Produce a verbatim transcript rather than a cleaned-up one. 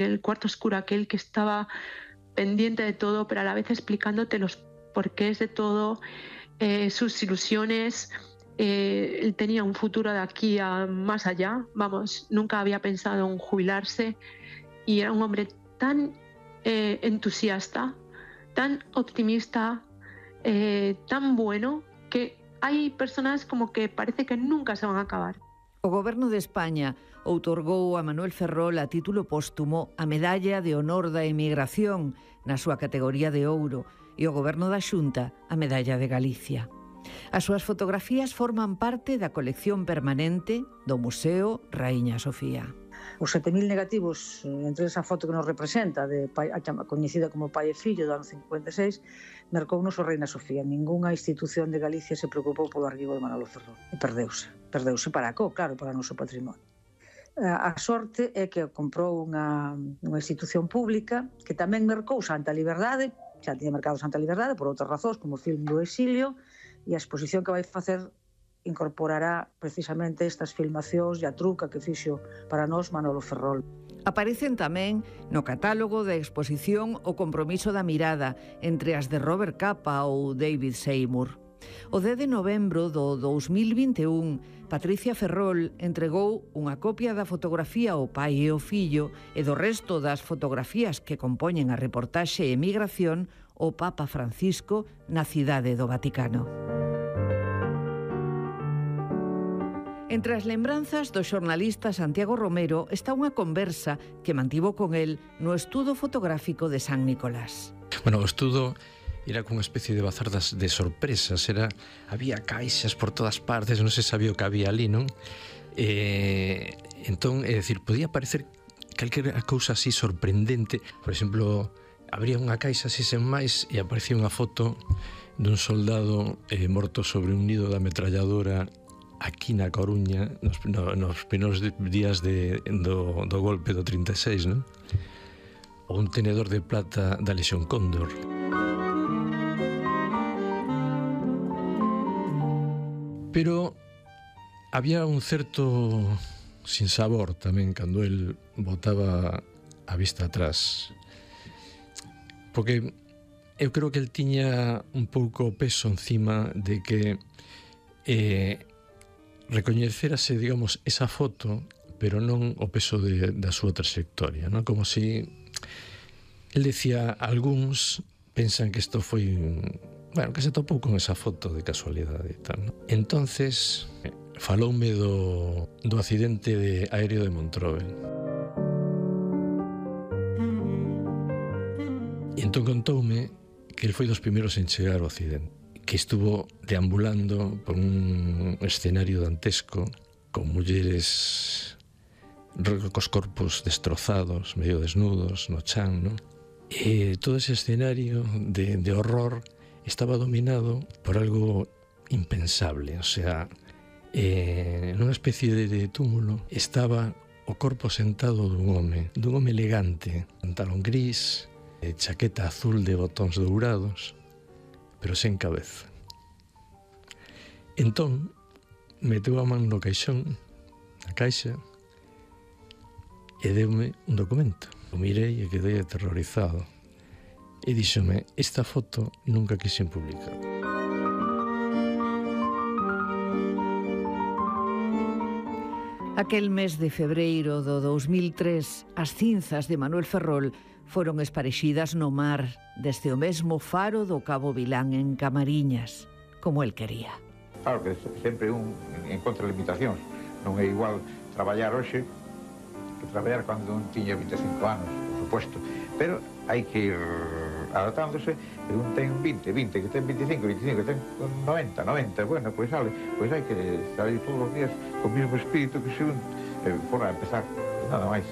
el cuarto oscuro aquel que estaba pendiente de todo, pero a la vez explicándote los porqués de todo, eh, sus ilusiones. Eh, él tenía un futuro de aquí a más allá, vamos, nunca había pensado en jubilarse y era un hombre tan eh, entusiasta, tan optimista, eh, tan bueno, que hai personas como que parece que nunca se van a acabar. O Goberno de España outorgou a Manuel Ferrol a título póstumo a Medalla de Honor da Emigración na súa categoría de ouro e o Goberno da Xunta a Medalla de Galicia. As súas fotografías forman parte da colección permanente do Museo Raíña Sofía. Os sete mil negativos, entre esa foto que nos representa, de pai, a coñecida como Pai e Fillo do ano cincuenta e seis, mercounos o Reina Sofía. Ningunha institución de Galicia se preocupou polo arquivo de Manolo Ferrol. E perdeuse. Perdeuse para co, claro, para o noso patrimonio. A sorte é que comprou unha, unha institución pública que tamén mercou Santa Liberdade, xa tiña mercado Santa Liberdade por outras razóns, como o film do exilio, e a exposición que vai facer incorporará precisamente estas filmacións e a truca que fixo para nós Manolo Ferrol. Aparecen tamén no catálogo da exposición O compromiso da mirada entre as de Robert Capa ou David Seymour. O dez de novembro do dous mil vinte e un, Patricia Ferrol entregou unha copia da fotografía ao pai e ao fillo e do resto das fotografías que compoñen a reportaxe Emigración ao Papa Francisco na cidade do Vaticano. Entre as lembranzas do xornalista Santiago Romero está unha conversa que mantivo con el no estudo fotográfico de San Nicolás. Bueno, o estudo era como unha especie de bazar das, de sorpresas, era, había caixas por todas partes, non se sabía o que había ali, non? E, entón, é dicir, podía parecer calquera cousa así sorprendente. Por exemplo, abría unha caixa así sen máis e aparecía unha foto dun soldado eh, morto sobre un nido da ametralladora aquí na Coruña nos, no, nos primeiros días de, do, do golpe do trinta e seis, non? Ou un tenedor de plata da Lexión Cóndor. Pero había un certo sinsabor tamén cando el botaba a vista atrás, porque eu creo que el tiña un pouco peso encima de que eh, recoñecerase, digamos, esa foto, pero non o peso de, da súa trayectoria, non? Como si el decía, algúns pensan que isto foi, bueno, que se topou con esa foto de casualidade e tal, non? Entonces, faloume do, do accidente de aéreo de Montrovel. E entón contoume que el foi dos primeiros en chegar ao accidente, que estuvo deambulando por un escenario dantesco con mulleres cos corpos destrozados, medio desnudos, no chan, ¿no? E todo ese escenario de, de horror estaba dominado por algo impensable, o sea, eh, nunha especie de, de túmulo estaba o corpo sentado dun home, dun home elegante, pantalón gris, eh, chaqueta azul de botóns dourados, pero sen cabeza. Entón, meteu a man no caixón, na caixa, e deume un documento. O mirei e quedei aterrorizado. E díxome, esta foto nunca quixen publicar. Aquel mes de febreiro do dous mil tres, as cinzas de Manuel Ferrol foron esparexidas no mar desde o mesmo faro do Cabo Vilán en Camariñas, como el quería. Claro que sempre un encontra limitacións. Non é igual traballar hoxe que traballar cando un tiña vinte e cinco anos, por suposto. Pero hai que ir adaptándose, e un ten vinte, vinte, que ten veinticinco, veinticinco, que ten noventa, noventa, bueno, pois sale, pois hai que salir todos os días co mesmo espírito que se un eh, fora a empezar, nada máis.